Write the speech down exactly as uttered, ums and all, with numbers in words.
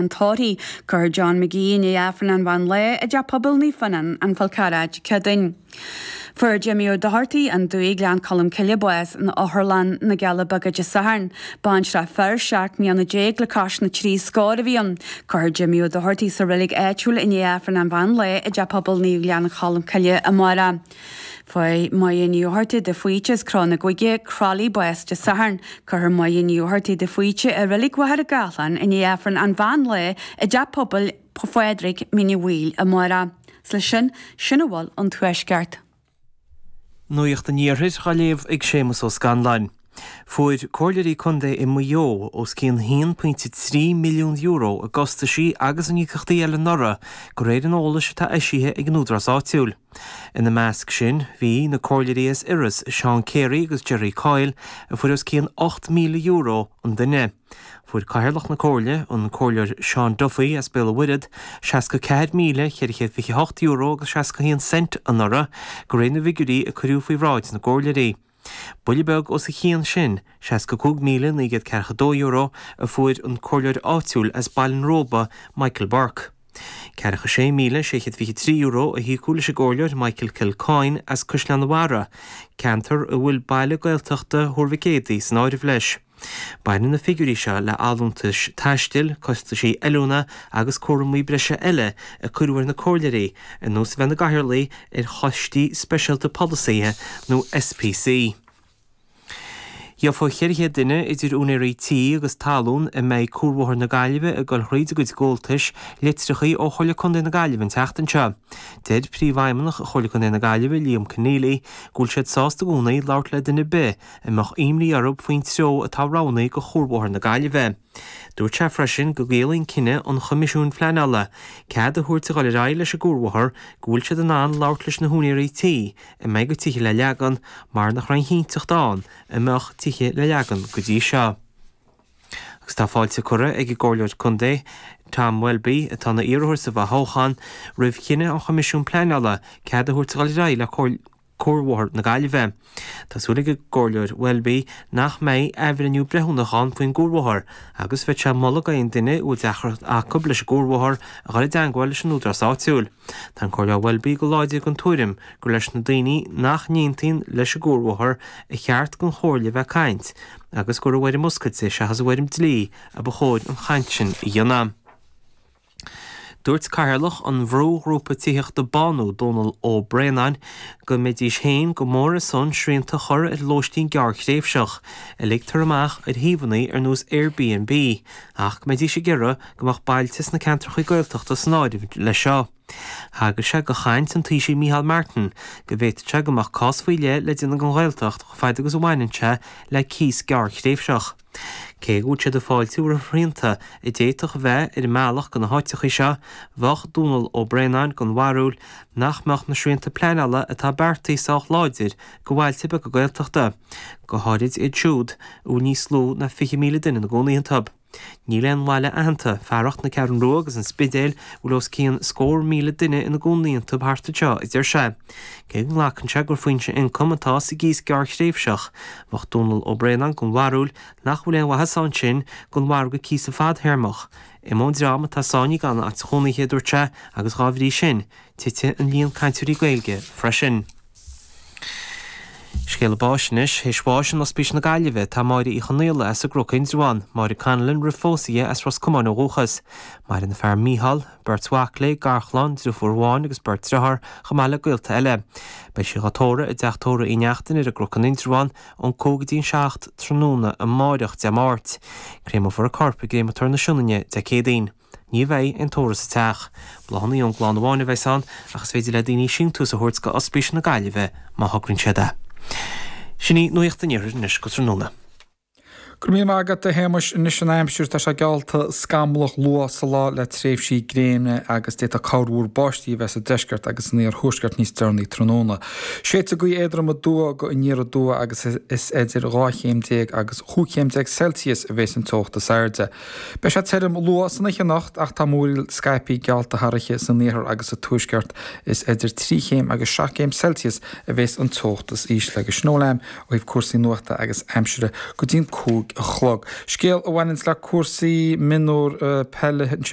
an tórraimh. Cuirfear John McGee i ndiaidh Aifreann an mheán lae i dTeach Pobail Naomh Fionnán, An Fál Carrach, Dé Céadaoin. Fuair Jimmy Ó Dochartaigh, An Dumhaigh, Gleann Cholm Cille, bás in Otharlann na gCealla Beaga Dé Sathairn. Baintreach fir, seacht mbliana déag le cois na trí scór a bhí ann. Cuirfear Jimmy Ó Dochartaigh sa reilig áitiúil i ndiaidh Aifreann an mheán lae i dTeach Pobail Naomh Ghleann Cholm Cille amárach. Fuair Máire Ní Fhátharta de Faoite as Cró na gCuige, Croithlí, bás Dé Sathairn. Cuirfear Máire Ní Fhátharta de Faoite i reilig Mhachaire Gathlán i ndiaidh Aifreann an mheán lae i dTeach Pobail Phádraig, Mín an Mhaoil, amárach. 'S leis sin, sin a bhfuil ón Tuaisceart. Nuacht an Iarthair á léamh ag Séamus Ó Scanláin. Fuair comhairleoirí contae i Maigh Eo os cionn haon pointe trí milliún euro i gcostaisí agus in íocaíochtaí eile anuraidh, de réir an eolais atá eisithe ag an údarás áitiúil. Ina measc sin bhí na comhairleoirí as Iorras, Seán Carey agus Gerry Coyle, a fuair os cionn ocht míle euro an duine. Fuair Cathaoirleach na Comhairle, an Comhairleoir Seán Duffy as Béal an Mhuirthead, seasca ceathair míle ceithre chéad fiche hocht euro agus seasca haon cent anuraidh, de réir na bhfigiúirí a cuireadh faoi bhráid na gcomhairleoirí. Buille beag os a chionn sin, seasca cúig míle naoi gcéad ceathracha dó euro, a fuair an comhairleoir áitiúil as Baile an Róba, Michael Burke. Ceathracha sé míle sé chéad fiche trí euro a híocadh leis an gcomhairleoir Michael Kilcoyne as Caisleán an Bharraigh, ceantar a bhfuil baile Gaeltachta Thuar Mhic Éadaigh san áireamh leis. Baineann na figiúirí seo le allúntais taistil, costaisí oiliúna agus cúraimí breise eile a cuireadh ar na comhairleoirí, ar nós a bheith ina gcathaoirligh ar choistí speisialta polasaithe nó SPC. Gheofaidh ceithre chéad duine, idir úinéirí tí agus talún a mbeidh Cuarbhóthar na Gaillimhe ag dul thríd a gcuid gabháltais, litreacha ó Chomhairle Contae na Gaillimhe an tseachtain seo. Deir Príomhfheidhmeannach Chomhairle Contae na Gaillimhe, Liam Conneally, go bhfuil siad sásta i gcónaí labhairt le duine ar bith a mbeadh imní orthu faoin treo atá roghnaithe do Chuarbhóthar na Gaillimhe. Dúirt sé freisin go gciallaíonn cinneadh an Choimisiúin Phleanála cead a thabhairt a dhul ar aghaidh leis an gcuarbhóthar go bhfuil siad in ann labhairt leis na húinéirí tí a mbeidh a gcuid tithe le leagan mar nach raibh aon chinnteacht ann a mbeadh tithe le leagan go dtí seo. Agus tá fáilte curtha ag an gComhairleoir Contae Tom Welby, atá ina iarrthóir sa bhfothoghchán, roimh chinneadh an Choimisiúin Pleanála cead a thabhairt a dhul ar aghaidh le Cuarbhóthar na Gaillimhe. Tá súil ag an gComhairleoir Welby nach mbeidh athbhreithniú breithiúnach ann faoin gcuarbhóthar agus bheadh sé ag moladh d'aon duine a bhfuil deacracht acu leis an gcuarbhóthar a dhul i dteangmháil leis an údarás áitiúil. Tá an Comhairleoir Welby go láidir den tuairim gur leis na daoine nach n-aontaíonn leis an gcuarbhóthar a cheart don Chomhairle bheith ag caint agus gur i bhfoirm oscailte seachas i bhfoirm dlí a ba chóir an chaint sin a dhéanamh. Dúirt Cathaoirleach an bhrúghrúpa tithíochta Bánú, Dónal Ó Braonáin, go mbeidís féin go mór ar son srianta a chur ar lóistín gearrthréimhseach a ligtear amach ar shuíomhanna ar nós Airbnb ach go mbeidís ag iarraidh go mbeadh bailte sna ceantracha Gaeltachta san áireamh leis seo. Thagair sé do chaint an Taoisigh Micheál Martin go bhféadfadh sé go mbeadh cás faoi leith le déanamh den Ghaeltacht chomh fada agus a bhaineann sé le cíos gearrthréimhseach. Cé go bhfuil siad ag fáiltiú roimh shrianta a d'fhéadfadh a bheith ar an mbealach go na háiteacha seo, bheadh Dónal Ó Braonáin den bharúil nach mbeadh na srianta pleanála atá beartaithe sách láidir do bhailte beaga Gaeltachta, go háirid iad siúd a bhfuil níos lú ná fiche míle duine ina gcónaí iontu. Níl aon bhaile aitheanta, fearacht na Ceathrún Rua agus an Spidéal, a bhfuil os cionn scór míle duine ina gcónaí iontu thart anseo, a deir sé. Cé go nglacann sé gur foinse ioncaim atá sa gcíos gearrthréimhseach, bheadh Dónal Ó Braonáin den bharúil nach bhfuil aon mhaitheas ann sin don mhargadh cíosa fadthéarmach. Imeoidh an dream atá sáinnithe gan áit chónaithe, a dúirt sé, agus dhá bhrí sin, titfidh an líon cainteoirí Gaeilge freisin. Scéala báis anois. Théis bháis in Ospís na Gaillimhe atá Máire Uí Chonaola as an gCnoc Indreabhán, Máire Connellan roimh phósadh di as Ros Comáin ó dhúchas. Maireann a fear Mícheál, beirt mhac léi, garchlann, driofúr amháin agus beirt driotháir, chomh maith le gaolta eile. Beidh sí dhá tórramh i dTeach Tórraimh Uí Neachtain ar an gCnoc in Indreabhán ón cúig go dtí an seacht tráthnóna amáireach, Dé Máirt. Créamófar a corp i gCréamatóir na Sionainne Dé Céadaoin. Ní bheidh aon tórramh sa teach. Bláthanna ón gclann amháin a bheas ann ach is féidir le daoine síntiús a thabhairt go Ospís na Gaillimhe má thograíonn siad é. Sin í Nuacht an Iarthair anois go tráthnóna. Go raibh míle maith agat, a Shéamais. Anois an aimsir, tá sé geallta scamallach luath sa lá le tréimhsí gréine agus d'fhéadfadh corrmhúr báistí a bheith sa deisceart agus san iarthuaisceart níos deireanaí tráthnóna. Séidfidh gaoth éadrom aduaidh go aniar aduaidh agus is idir dhá chéim déag agus chúig chéim déag Celsius a bheas an teocht is airde. Beidh sé tirim luath san oíche anocht ach tá múraíl scaipthe geallta thar oíche san iarthar agus sa tuaisceart. Is idir trí chéim agus seacht gcéim Celsius a bheas an teocht is ísle. Agus sin a bhfuil agam ó thaobh cúrsaí nuachta agus aimsire go dtí'n cúig cúig a chlog. Scéal a bhaineanns le cúrsaí mionúr peile ansin.